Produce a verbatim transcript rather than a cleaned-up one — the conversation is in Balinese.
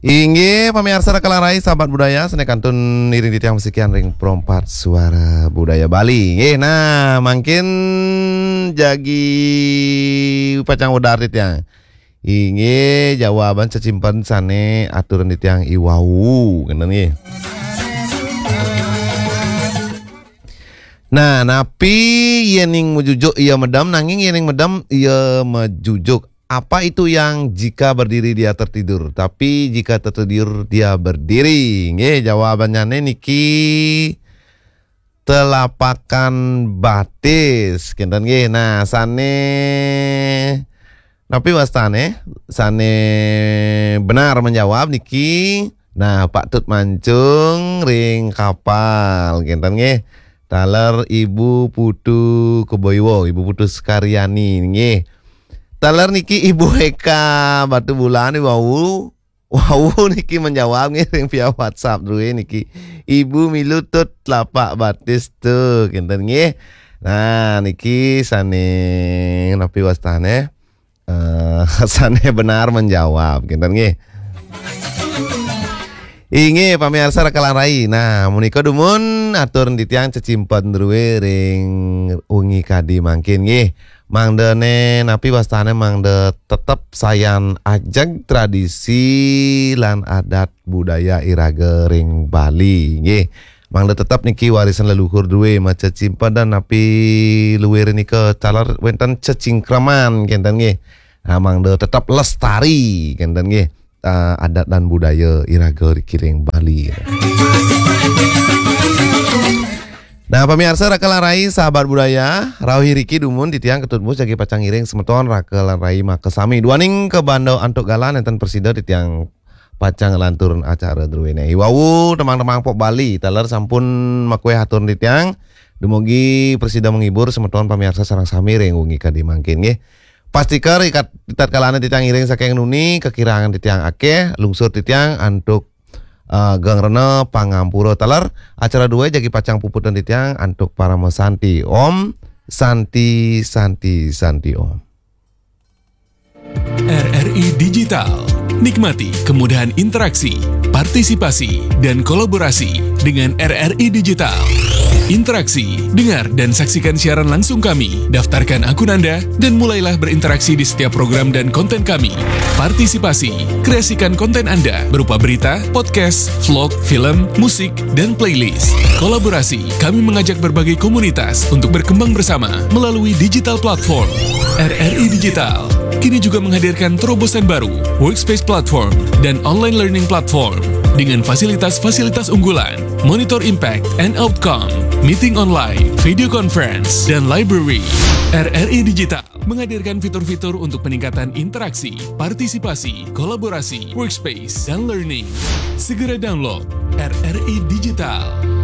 Inggih, pamiarsa Raka lan Rai, sahabat budaya, sané kantun ngiring titiang masikian ring Perempat Suara Budaya Bali. Inggih, nah, mangkin jagi pacang wedar titiang. Inggih, jawaban cecimpen sané aturan titiang i wau, kénten nggih. Nah, napi yéning majujuk ia medem, nanging yéning medem ia majujuk. Apa itu yang jika berdiri dia tertidur, tapi jika tertidur dia berdiri? Nggih, jawabannyané niki telapakan batis, kénten nggih. Nah, sané napi wastané? Sané benar menjawab niki, nah, Pak Tut Mancung ring Kapal, kénten nggih. Taler Ibu Putu Keboiwo, Ibu Putu Sukaryani nggih. Taler niki Ibu Eka Batubulan wau. Wau niki menjawab nggih ring via WhatsApp drué niki. Ibu milu Tut telapak batis Tut, kénten nggih. Nah, niki sané napi wastané? Eh, sané benar menjawab, kénten nggih. Inggih, pamiarsa Raka lan Rai. Nah, menika dumun atur titiang cecimpen drué ring wengi kadi mangkin nggih. Mangdané napi wastané, mangda tetep sayan ajeg tradisi lan adat budaya iraga ring Bali nggih. Mangda tetep niki warisan leluhur drué, macecimpedan napi luir nika taler wénten cecingkreman, kénten nggih. Nah, mangda tetep lestari, kénten nggih. Ah, adat dan budaya iraga riki ring Bali. Nah, pamiarsa Raka lan Rai, sahabat budaya, rauh iriki dumun titiang Ketut Mus jagi pacang ngiring semeton Raka lan Rai makasami. Duaning kabanda antuk galah nénten prasida titiang pacang nglanturang acara druéné. I wau tembang-tembang pop Bali, taler sampun makuéh atur titiang. Dumugi prasida menghibur semeton pamiarsa sareng sami ring wengi kadi mangkin nggih. Pastika ri kat-, ritatkalané titiang ngiring saking nuni, kakirangan titiang akéh, lungsur titiang antuk, eh, geng rena pangampura. Taler acara drué jagi pacang puputang titiang antuk parama santi. Om Santi, Santi, Santi Om. R R I Digital. Nikmati kemudahan interaksi, partisipasi, dan kolaborasi dengan R R I Digital. Interaksi, dengar dan saksikan siaran langsung kami, daftarkan akun Anda, dan mulailah berinteraksi di setiap program dan konten kami. Partisipasi, kreasikan konten Anda berupa berita, podcast, vlog, film, musik, dan playlist. Kolaborasi, kami mengajak berbagai komunitas untuk berkembang bersama melalui digital platform. R R I Digital kini juga menghadirkan terobosan baru, Workspace Platform dan Online Learning Platform, dengan fasilitas-fasilitas unggulan, monitor impact and outcome, meeting online, video conference, dan library. R R I Digital menghadirkan fitur-fitur untuk peningkatan interaksi, partisipasi, kolaborasi, workspace, dan learning. Segera download R R I Digital.